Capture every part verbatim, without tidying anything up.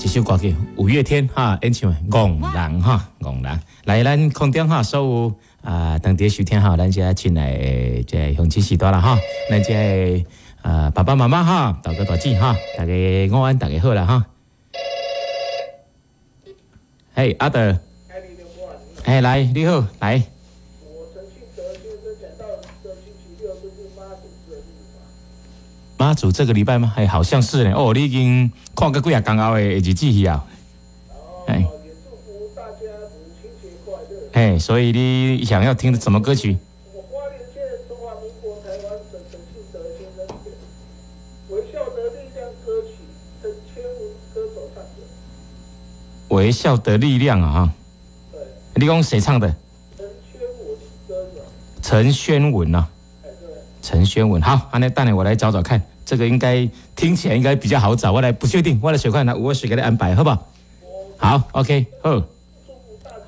一首歌曲，五月天哈演唱的《戇人》哈，戇人。來，咱空中哈，所有啊，當地收聽哈，咱遮親愛的這鄉親序大啦哈，咱遮的啊爸爸媽媽哈，大哥大姊哈，大家午安，大家好啦哈。嘿，阿德，哎，來，你好，來。我陳慶德先生講到這星期六就是媽祖這日嘛。媽祖這個禮拜嗎？哎，好像是呢。哦，你已經看過幾仔工後的日子去啊。哦，也祝福大家母親節快樂。哎，所以你想要聽的什麼歌曲？我花蓮縣中華民國台灣省陳慶德先生點《微笑的力量》歌曲，陳千文歌手唱的。微笑的力量啊！對。你講誰唱的？陳宣文歌手。陳宣文啊。哎，對。陳陳宣文，好，按呢等下我來找找看，這個應該聽起來應該比較好找，我來不確定，我來隨看，我隨給你安排，好不好？好，OK，好，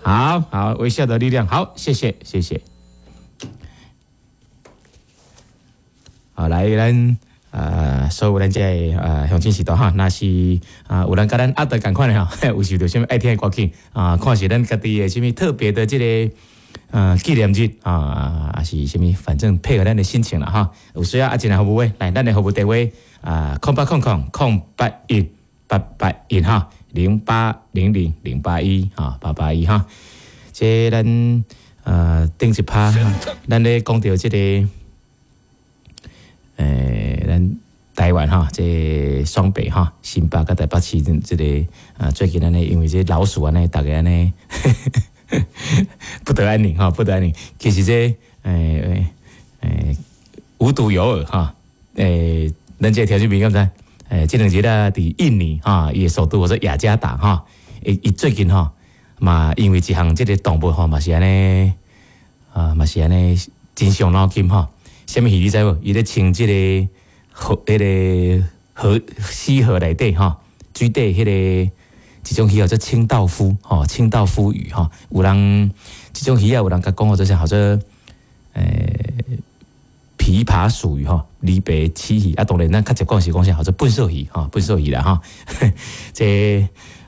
好好，微笑的力量，好，謝謝，謝謝。好，來，咱呃，所有咱這個呃鄉親序大哈，若是啊有人佮咱阿德仝款的吼，有受著啥物愛聽的歌曲啊，看是咱家己的啥物特別的這個呃紀念日啊，還是啥物，反正配合咱的心情啦哈。有需要啊，進來服務的，來咱的服務電話啊，空八空空空八一八八一哈，零八零零零八一哈，八八一哈。這咱呃頂一趴，咱咧講著這個。欸，咱台灣哈，這雙北哈，新北佮台北市這個啊，最近按呢，因為這老鼠按呢，大家按呢不得安寧哈，不得安寧。其實這欸欸欸無獨有偶哈，欸，咱這個條件比敢知？欸，這兩日啊，佇印尼哈，伊的首都叫做雅加達哈，伊伊最近吼嘛，因為一項這個動物吼嘛是按呢啊，嘛是按呢真傷腦筋吼。啥物魚你知無？伊咧清這個河、彼個河溪河內底吼，水底彼個一種魚叫做清道夫吼，清道夫魚吼。有人這種魚仔有人共講號做啥？號做欸琵琶鼠魚吼，犁白鰭魚啊。當然咱較捷講是講啥？號做糞掃魚吼，糞掃魚啦吼。這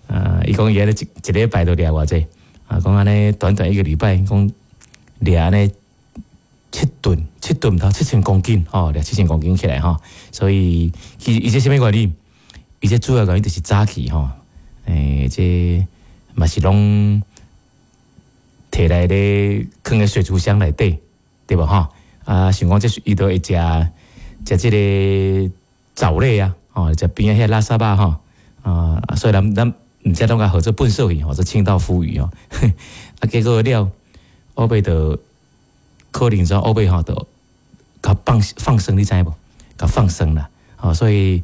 呃，伊講伊按呢一一禮拜都掠偌濟啊？講按呢短短一個禮拜，講掠按呢七噸，七噸頭七千公斤吼，掠七千公斤起來吼，所以其實伊這啥物原理？伊這主要原因就是早期吼，欸，這嘛是攏提來咧，囥佇水族箱內底，對無吼？啊，想講這伊都會食食這個藻類啊，吼，食邊仔彼垃圾仔吼，啊，所以咱咱毋知攏共號做糞掃魚，號做清道夫魚吼，啊，結果了後尾就可能說後尾吼就共放放生，你知無？共放生啦，吼，所以